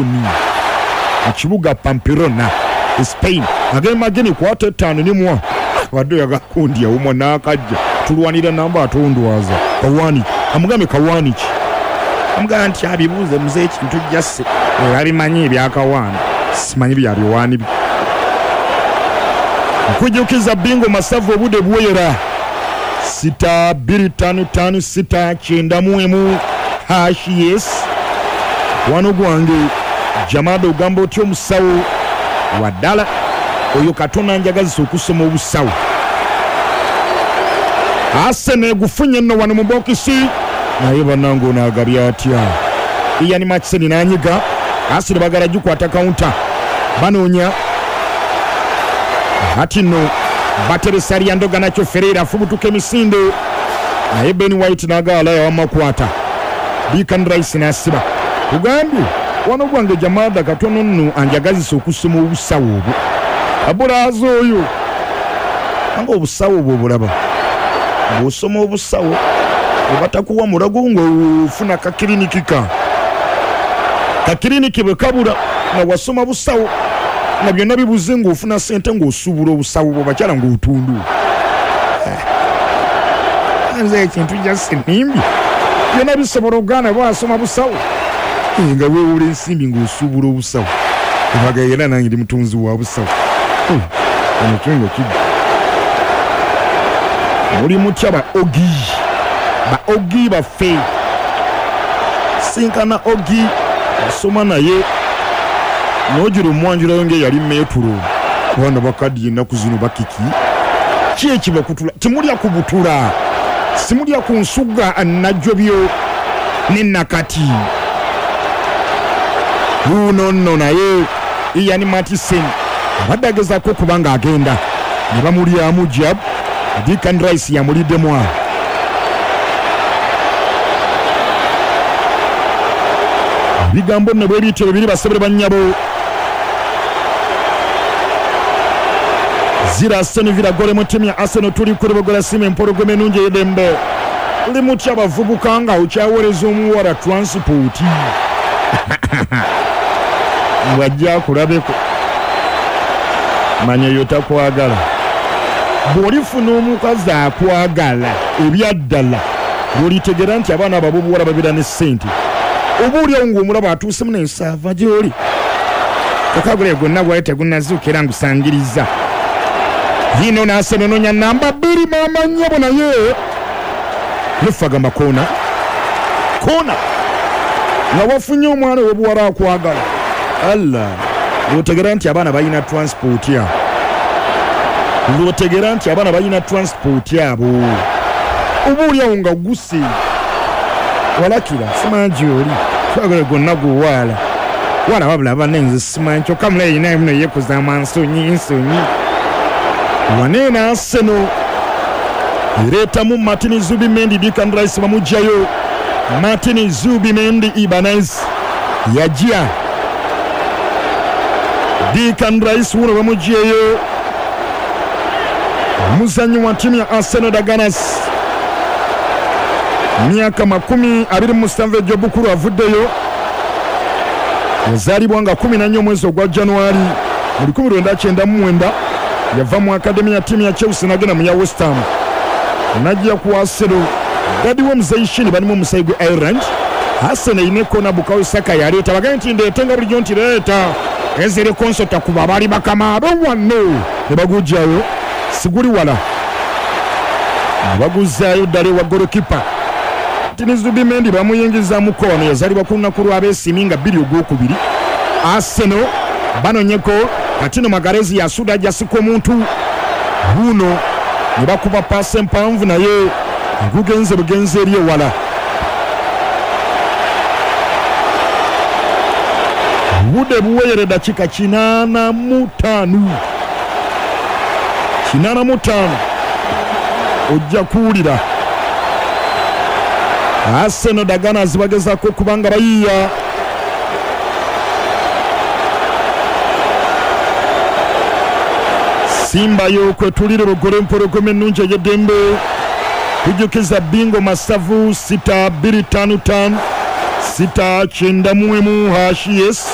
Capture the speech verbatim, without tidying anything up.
Leon, mu kibuga Pamplona, Spain. Agamba geni kwata ttaano nimwa wadde oyagala kundya omwa n'akajja tulwanira namba atondwaza kawaani amugambe kawaani ki amugamba nti abibuuze muze ekintu jasse abimanyi ebyakawaani simanyi byabiwaani bi nkujjukiza bingo masavu obudde bwera sita bbiri ttaano ttaano sita kyenda mu emu hash yes wano gwange Jamada ogamba otya omusawo waddala oyo Katonda njagazisa okusoma obusawo. Arsenal egufunye nno wano mu bokisi naye bannange ono agabye atya. Ian Maatsen n'anyiga Arsenal bagala gikwata counter banoonya ati nno bateresa Leandro Garnacho Ferreira afubutuka emisinde naye Ben White n'agaala yawamakwata Declan Rice n'asiba. Kugambye wano gwange Jamada katono nno anjagazisa okusoma obusawo obwo abulaaza oyo anga obusawo obwo obulaba bw'osoma obusawo obatakuwa mulago ng'ofuna kakiriniki ka kakiriniki bwe kabula nga wasoma busawo nga byonna bibuze ng'ofuna ssente ng'osuubula obusawo bwo bakyala ng'otundu. Nze ekintu jasi nimbi byonna bisobola okugaana bwasoma busawo nga weewula ensimbi ng'osuubula obusawo obaga era nange ndi mutunzi wa busawo ono kyongo kijja muli mutya ba ogi ba ogi baffe sinkana ogi asoma naye n'ogira omwanjulayo ng'eyali meetulo abaana bakaddiye ennaku zino bakiki ki ekibakutula temulya ku butula simulya ku nsuga najjobyo ne nakati wuuno nno naye Ian Maatsen abadde agezaako okuba ng'agenda ne bamulyamu jab Declan Rice yamuliddemu awo. Ebigambo nno bwe bityo bibiri basebere bannyabo. Zira Aston Villa gole mu ttiimu ya Arsenal tuli ku Lubogola Sima empologoma ennungi ey'eddembe. Muli mutya abavubuka nga okyaweereza omuwala transport ng'ajja akulabeko manya oyo takwagala. Bw'olifuna omukazi akwagala ebyaddala lw'olitegera nti abaana abo ab'obuwala babeera ne ssente oba oliawo ng'omulaba atuusemu n'ensaava gy'oli kakagule gonna gwali tegunnazuuka era ngusangiriza yino n'Arsenal enoonya namba bbiri maama nnyabo naye lufagamba koona koona nga wafunye omwana ow'obuwala akwagala Allah lw'otegera nti abaana balina transport abo lw'otegera nti abaana balina transport abo oba oliawo nga guse walakira simanyi gy'oli twagala gonna guwaala wala wabula banne nze simanyi kyokka mulayi naye muno yeekuza amansonyi nsonyi waneeno Arsenal ereetamu Martin Zubimendi Declan Rice bamuggyayo Martin Zubimendi Ibanez yajja Declan Rice wuno bamuggyeyo omuzannyi wa ttiimu ya Arsenal the Gunners myaka makumi abiri mu musanvu egy'obukulu avuddeyo yazaalibwa nga kumi na nnya omwezi ogwa Januari mu lukumi lwenda kyenda mu mwenda yava mu akademi ya ttiimu ya Chelsea n'agenda mu ya West Ham n'ajja ku Arsenal dadi w'omuzeeyi Shini balimu omusayi gwe Ireland Arsenal erina ekkoona Bukayo Saka yaleeta bagambye nti ndeete nga bulijjo nti leeta ezere konsota kuba bali bakama be wano ne baguggyayo siguli wala ne baguzzaayo ddala ewa golokipa Martin Zubimendi bamuyingizaamuko wano yazaalibwa ku lunaku lw'abeesiimi nga bbiri ogwokubiri Arsenal banonyeko Katino Magalhaes yasuda ajasika omuntu wuuno ne bakuba paasi empanvu naye gugenze bugenzi eri ewala. Obudde buweyere dakiika kinaana mu ttaano kinaana mu ttaano ojja kuwulira Arsenal the Gunners bagezaako okuba nga bayiiya Simba yo kwetulire Lugole empologoma ennungi ey'eddembe kujjukiza bingo masavu sita bbiri ttaano ttaano sita kyenda mu emu hash yes.